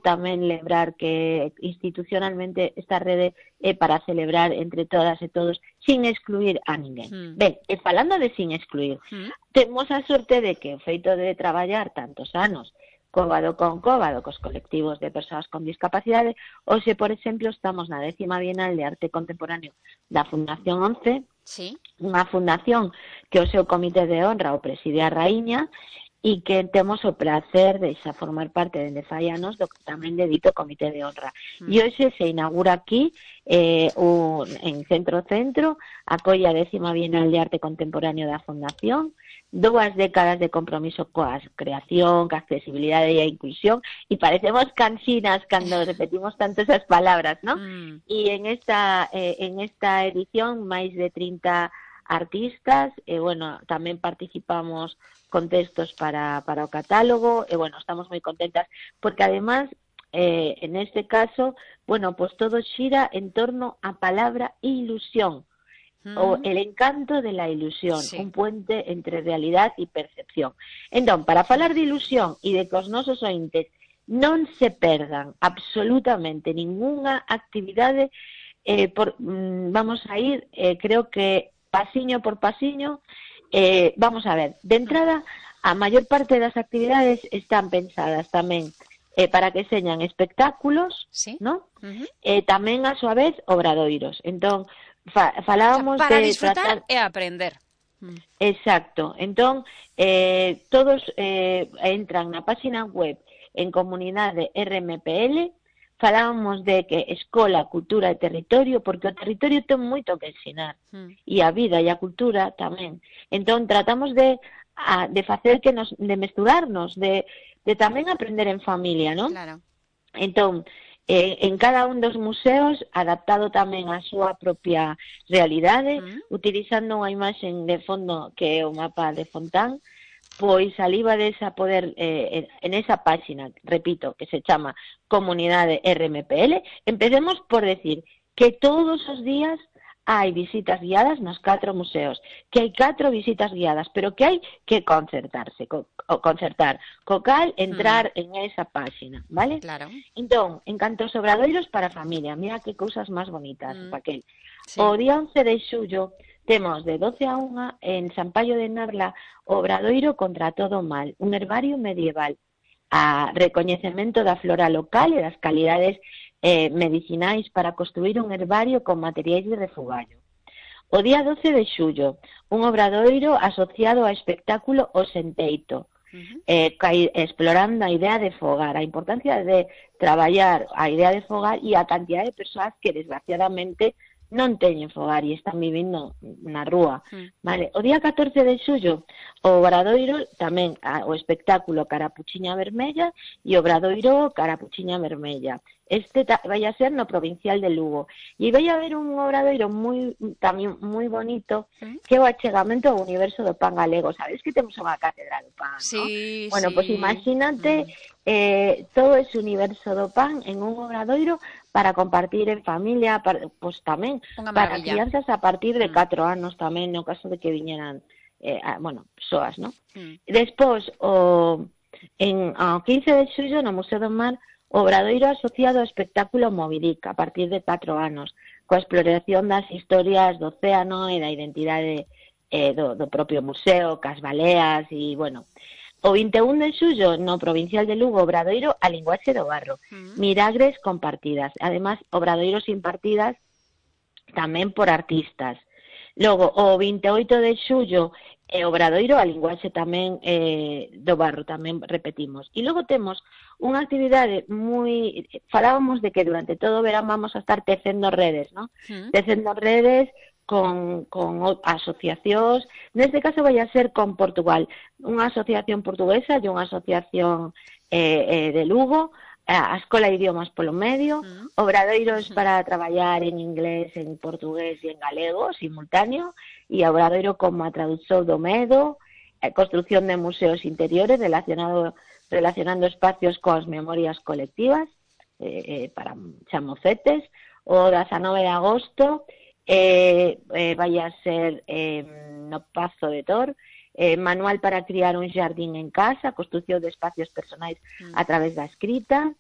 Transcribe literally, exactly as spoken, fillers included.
tamén lembrar que institucionalmente esta rede é para celebrar entre todas e todos sin excluir a ninguén. Mm. Ben, e falando de sin excluir, mm. temos a sorte de que o feito de traballar tantos anos cóbado con cóbado cos colectivos de persoas con discapacidade, hoxe, por exemplo, estamos na décima Bienal de Arte Contemporáneo da Fundación once, sí. Unha fundación que o seu comité de honra o preside a Raíña, e que temos o placer de xa formar parte dende fai anos do tamén de dito comité de honra. Mm. E hoxe se inaugura aquí eh, un, en Centro Centro, acolle a décima Bienal de Arte Contemporáneo da Fundación, dúas décadas de compromiso coa creación, coa accesibilidade e a inclusión, e parecemos cansinas cando repetimos tanto esas palabras, ¿no? Mm. E en esta, eh, en esta edición máis de trinta artistas, e bueno, tamén participamos con textos para, para o catálogo, e bueno, estamos moi contentas, porque además, eh, en este caso, bueno, pues todo xira en torno á palabra ilusión, mm. o el encanto de la ilusión, sí. Un puente entre realidad e percepción. Entón, para falar de ilusión e de que os nosos ointes non se perdan absolutamente ningunha actividade, eh, por, mm, vamos a ir, eh, creo que pasiño por pasiño. Eh, vamos a ver, de entrada, a maior parte das actividades están pensadas tamén eh, para que señan espectáculos, ¿sí? ¿No? Uh-huh. Eh, tamén, a súa vez, obradoiros. Entón, fa, falábamos o sea, para de... disfrutar tratar... e aprender. Exacto. Entón, eh, todos eh, entran na página web en Comunidade R M P L. Falábamos de que escola, cultura e territorio, porque o territorio ten moito que ensinar, mm. e a vida e a cultura tamén. Entón, tratamos de, a, de facer que nos, de mesturarnos, de, de tamén aprender en familia, non? Claro. Entón, eh, en cada un dos museos, adaptado tamén á súa propia realidade, mm. utilizando unha imaxen de fondo que é o mapa de Fontán, pois alíbades a poder, eh, en esa páxina, repito, que se chama Comunidade R M P L, empecemos por decir que todos os días hai visitas guiadas nos catro museos, que hai catro visitas guiadas, pero que hai que concertarse, co, o concertar, co cal entrar mm. en esa páxina, vale? Claro. Entón, en canto aos obradoiros para a familia, mira que cousas máis bonitas, mm. Raquel. Sí. O día once de xullo temos de doce a unha en San Paio de Narla o Obradoiro contra todo o mal, un herbario medieval, a recoñecemento da flora local e das calidades eh, medicinais para construir un herbario con materiais de refugallo. O día doce de xullo, un obradoiro asociado ao espectáculo O Senteito, uh-huh. eh, explorando a idea de fogar, a importancia de traballar a idea de fogar e a cantidad de persoas que desgraciadamente non teñen fogar e están vivindo na rúa, mm. vale? O día catorce de xullo, o Obradoiro, tamén a, o espectáculo Carapuchiña Vermella e o Obradoiro Carapuchiña Vermella. Este ta, vai a ser no Provincial de Lugo. E vai a haber un obradoiro moi, tamén moi bonito, mm. que é o achegamento ao universo do pan galego. Sabes que temos unha cátedra do pan, sí, ¿no? Bueno, sí. pois pues imagínate mm. eh, todo ese universo do pan en un obradoiro para compartir en familia, para, pues tamén para crianzas a partir de catro mm. anos tamén, no caso de que viñeran, eh, a, bueno, persoas, ¿no? Mm. Despois, o, en, o quince de xullo, no Museo do Mar, o obradoiro asociado ao espectáculo Movidic, a partir de catro anos, coa exploración das historias do océano e da identidade eh, do, do propio museo, cas baleas e, bueno... O vinte e un de xullo, no Provincial de Lugo, obradoiro a linguaxe do barro. Mm. Miragres compartidas. Además, obradoiros impartidas tamén por artistas. Logo, o vinte e oito de xullo, eh, obradoiro a linguaxe tamén eh, do barro, tamén repetimos. E logo temos unha actividade moi... Falábamos de que durante todo o verán vamos a estar tecendo redes, ¿no? Mm. Tecendo redes... Con, con asociacións, neste caso vai a ser con Portugal, unha asociación portuguesa e unha asociación eh, eh, de Lugo, a Escola de Idiomas polo medio, uh-huh. obradoiros uh-huh. para traballar en inglés, en portugués e en galego, simultáneo, e obradoiro como a traducción do medo, eh, construcción de museos interiores relacionado, relacionando espacios coas memorias colectivas, eh, eh, para chamocetes, o dezanove de agosto, Eh, eh, vai a ser eh, no Pazo de Tor, eh, manual para criar un xardín en casa, construción de espacios personais mm. a través da escrita,